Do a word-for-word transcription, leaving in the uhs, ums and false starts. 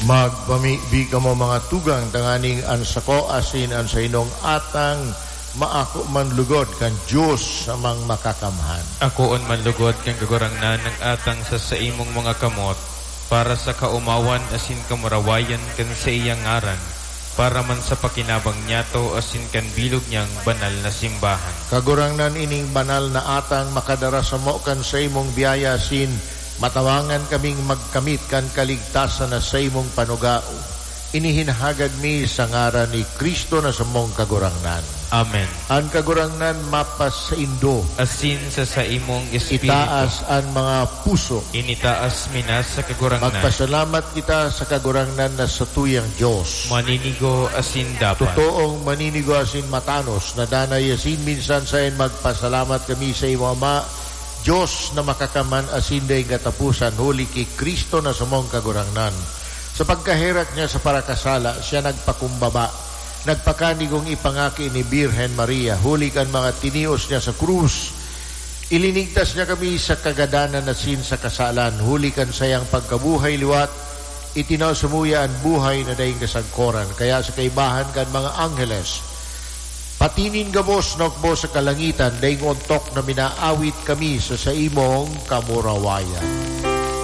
Magpamibi kamo, mga tugang, tanganing an sako asin an sainong atang maako man lugod kan Dios na Amang Makakamhan. Akoon man lugod kan Kagurangnan ang atang sa saimong mga kamot, para sa kaomawan asin kamurawayan kan saiyang ngaran, para man sa pakinabang niyato asin kan bilog niyang banal na simbahan. Kagurangnan, ining banal na atang makadara samo kan saimong biyaya asin matawangan kaming magkamit kan kaligtasan na saimong panugao. Ini hinahagad mi sa ngaran ni Cristo na samong Kagurangnan. Amen. An Kagurangnan mapasaindo. Asin sa saimong espiritu. Itaas an mga puso. Initaas mi na sa Kagurangnan. Magpasalamat kita sa Kagurangnan na satuyang Dios. Maninigo asin dapat. Totoong maninigo asin matanos na danay asin minsan saen magpasalamat kami sa imo, Ama, Dios na makakamhan asin daing kataposan, huli ki Cristo na samong Kagurangnan. Sa pagkaherak niya sa parakasala, siya nagpakumbaba, nagpakanigong ipangaki ni Birhen Maria, huli kan mga tinios niya sa krus. Ilinigtas niya kami sa kagadanan asin sa kasalan, huli kan sayang pagkabuhay liwat, itinao samuya an buhay na daing kasagkoran. Kaya sa kaibahan kan mga angheles, pati nin gabos na hukbo sa kalangitan, daing ontok na minaawit kami sa saimong kamurawayan.